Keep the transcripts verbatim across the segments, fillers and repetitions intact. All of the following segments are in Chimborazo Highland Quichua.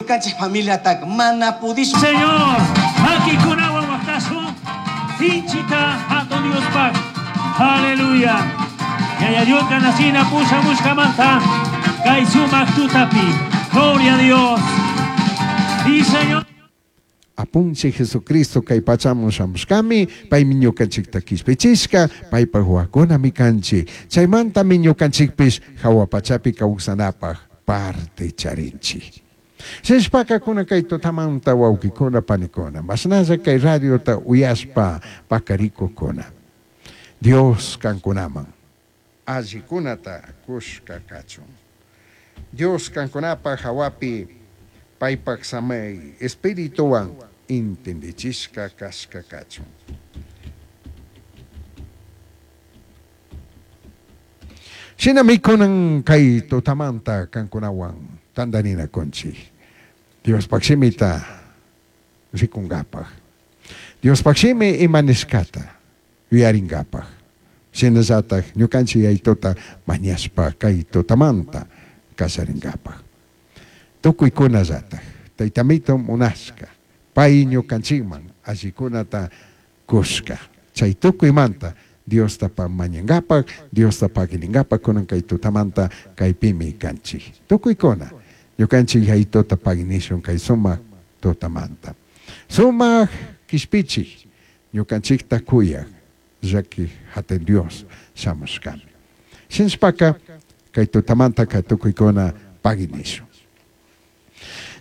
Ñukanchik familiataka mana pudishun. Señor, makikunawan waqtasun, sinchita hatun Diospaq. Aleluya. Yaya Dioska nasina pushamushkamanta kay sumaq tutapi. Gloria a Dios. Sí, Señor. Apunchik Jesucristo kay pachaman shamushkami, paymi ñukanchikta kishpichishka, paypaj wawakunami kanchik. Chaymantami ñukanchikpish hawa pachapi kawsanapaj parte charinchik. Shinashpaka kunan kay tutamanta wawkikuna panikuna, mashnalla kay radiota uyashpa pakarikukuna. Dios kankunaman allikunata kushka kachun. Dios kankunapaj hawapi paypaj samay espirituwan entendichishka kashka kachun. Shinami kunan kay tutamanta kankunawan tandarinakunchik. Diospaj shimita rikunkapaj. Diospaj shimi ima nishkata yuyaringapaj. Shinallataj ñukanchik yaytuta mañashpa kay tutamanta kallarinkapaj. Tukuykunallataj Taytamito munashka pay ñukanchikman allikunata kushka. Chay tukuymanta Diosta mañankapaj, Diosta pagininkapaj kunan kay tutamanta kaypimi kanchik. Tukuykuna ñukanchik yaytuta paginishun kay sumak tutamanta. Sumak kishpichik ñukanchikta kuyaj llaki hatun Dios shamushkami. Shinashpaka kay tutamanta kay tukuykuna paginishun.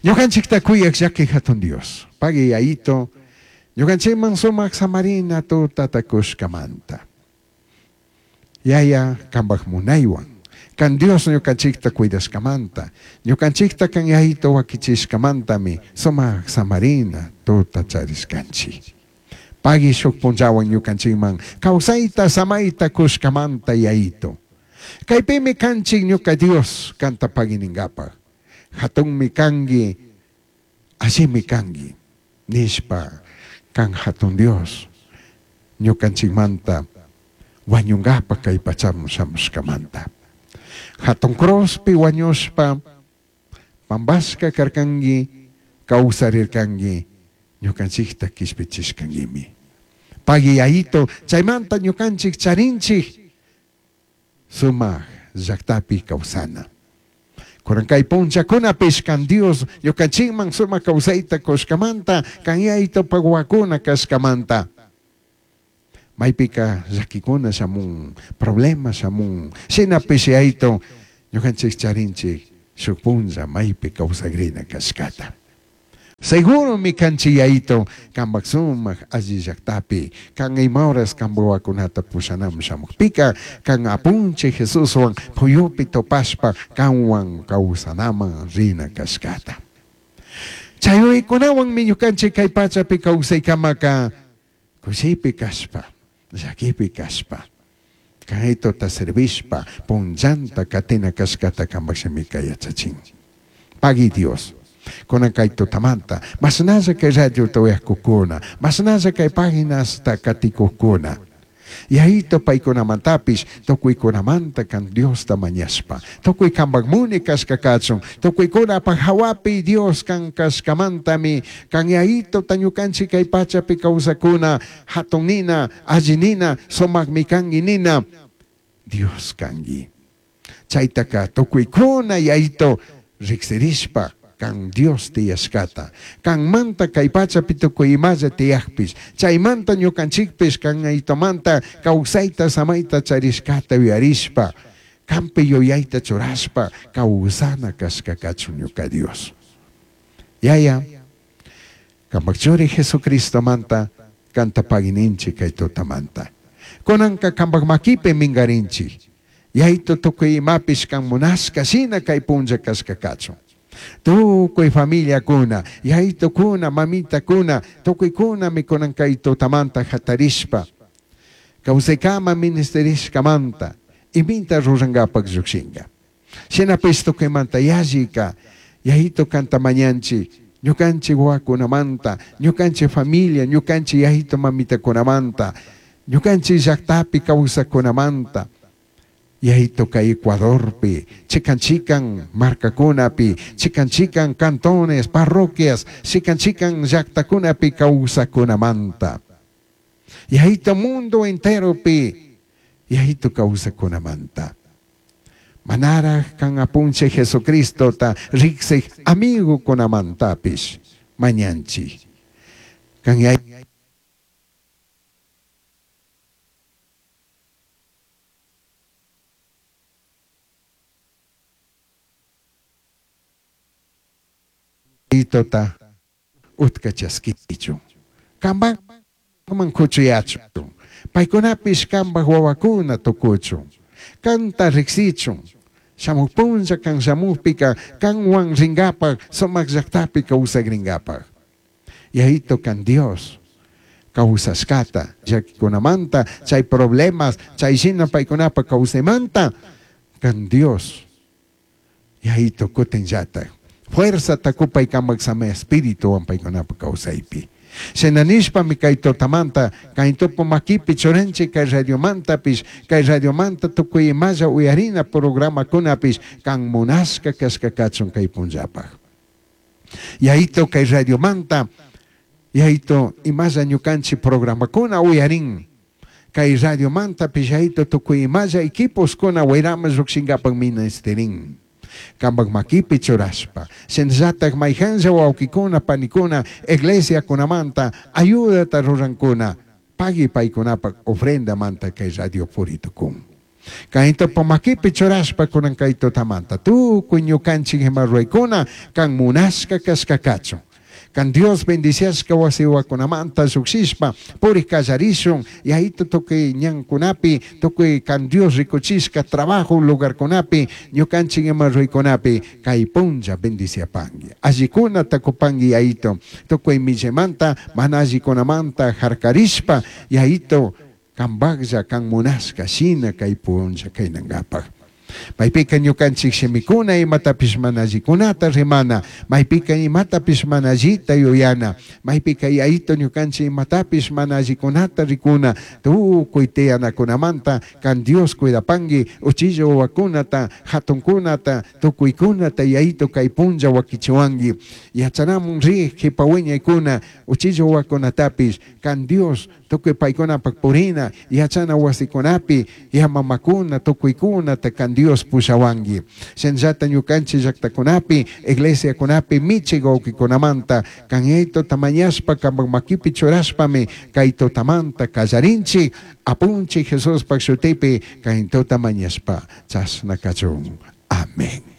Ñukanchikta kuyaj llaki hatun Dios, pagi yayito, ñukanchikman sumak samarina tutata kushkamanta. Yaya kanpaj munaywan, kan Dios ñukanchikta cuidashkamanta, ñukanchikta kan yayito wakichishkamantami sumak samarina tuta charishkanchik. Pagi shuk punllawan ñukanchikman kawsayta samayta kushkamanta yayito. Kaypimi kanchik ñuka Dios kanta pagininkapaj. Hatunmi kanki, allimi kanki, nishpa kan hatun Dios ñukanchikmanta wañunkapaj kay pachaman shamushkamanta. Hatun cruzpi wañushpa pampashka karkanki, kawsarirkanki, ñukanchikta kishpichishkankimi. Pagi yayito, chaymanta ñukanchik charinchik sumak llaktapi kawsana. Kunan kay punllakunapish kan Dios ñukanchikman sumak kawsayta kushkamanta, kan yayito wawakuna kashkamanta. Maypika llakikuna shamun, problema shamun, shinapish yayito ñukanchik charinchik shuk punlla maypi kawsakrina kashkata. Seguromi kanchik yayito kanpak sumak alli llaktapi, kan ima horas kan wawakunata pushanaman shamukpika, kan apunchik Jesuswan puyupi topashpa kanwan kawsanaman rina kashkata. Chay yuyaykunawanmi ñukanchik kay pachapi kawsaykamaka kushipi kashpa, llakipi kashpa, kaytuta servishpa punllanta katina kashkata kanpak shimika yachachin. Pagi Dios. Kunan kay tutamanta, mashnalla kay radiota uyakukuna, mashnalla kay paginasta katikukuna. Yayito paykunamantapish tukuykunamanta kan Diosta mañashpa, tukuy kanpak muni kashka kachun, tukuykunapaj hawapi Dios kan kashkamantami, kan yayito ñukanchik kay pachapi kawsakuna, hatun nina, alli nina, sumakmi kanki nina, Dios kanki. Chaytaka tukuykuna yayito riksirishpa kan Dios tiyashkata, kanmanta kay pachapi tukuy imalla tiyakpish, chaymanta ñukanchikpish kan aytomanta kawsayta samayta charishkata yuyarishpa, kanpi yuyayta churashpa kawsana kashka kachun ñuka Dios. Yaya, kanpak churi Jesucristomanta kanta pagininchik kay tutamanta. Kunanka kanpak makipi minkarinchik. Yayto tukuy imapish kan munashka shina kay punlla kashka kachun. Tukuy familiakuna, yaytukuna, mamitakuna, tukuykuna mikunan kay tutamanta hatarishpa, kawsaykama ministerishkamanta, iminta rurankapak llukshinka. Shinapish tukuymanta yallika, yayito kanta mañanchik, ñukanchik wawakunamanta, ñukanchik familia, ñukanchik yayito mamitakunamanta, ñukanchik llaktapi kawsakunamanta, Yayito kay Ecuadorpi, chikan chikan markakunapi, chikan chikan cantones, parroquias, chikan chikan llaqtakunapi kawsakunamanta. Yayito mundo enteropi, yayito kawsakunamanta. Manaraj kan apunche Jesucristo ta riksej amigo kunamantapish mañanchi. Kan yay ta utka chaskichu. Kambaman kuchuyachu. Paykunapish kambaj wawakuna tukuchun. Kanta riksichun. Shamuj punlla kan shamujpika kanwan ringapaj sumak llaqtapi kawsakrinkapaj. Yayito kan Dios kawsashkata llakikunamanta chay problemas chay shina paykunapa kawsaymanta kan Dios yayito kutinllatak fuerza takupay kamak sama espíritu paykunapa kawsaypi. Shinanishpami kay tutamanta kay tupu makipi churanchik kay radiomantapish kay radiomanta tukuy imalla uyarina programakunapish kan munashka kashka kachun kay punllapaj. Yayito kay radiomanta yayito imalla ñukanchik programakuna uyarin kay radiomantapish yayito tukuy imalla equiposkuna wayrama llukshinkapak ministerin. Kambak makipi churashpa shinallatak mayhanlla wawkikuna panikuna iglesiakunamanta ayudata rurankuna pagui paykunapak ofrendamanta kay radio puritukun. Kaytopa makipi churashpa kunan kay tutamanta tukuy ñukanchik ima ruraykuna kan munashka kashka kachun. Kan Dios bendiciashka wasiwakunamanta lluqshishpa purik kallarishun yayito tukuy ñankunapi tukuy kan Dios rikuchishka trabajo lugarkunapi ñukanchik ima ruraykunapi kay punlla bendiciapanki allikunata kupanki yayito tukuy millamanta mana allikunamanta harkarishpa yayito kambaklla kan munashka shina kay punlla kaynankapaj. Maypika ñukanchik shimikuna imatapish mana allikunata rimana, maypika imatapish mana allita yuyana, maypika yayito ñukanchik imatapish mana allikunata rikuna, tukuy tiyanakunamanta kan Dios cuidapanki uchilla wawakunata, hatunkunata, tukuykunata yayito kay punlla wakichiwanki. Yachanamun rij qhipa wiñaykuna uchilla wawakunatapish kan Dios tukuy paykunapak purina yachana wasikunapi yamamakuna tukuykunata kan Dios pushawanki. Shinallata ñukanchik llaqtakunapi iglesiakunapi michik wawqikunamanta kan yayto tamañashpa kampak makipi churashpami kay tutamanta kallarinchik apunchik Jesuspak shutipi kay tutamañashpa chashna kachun. Amén.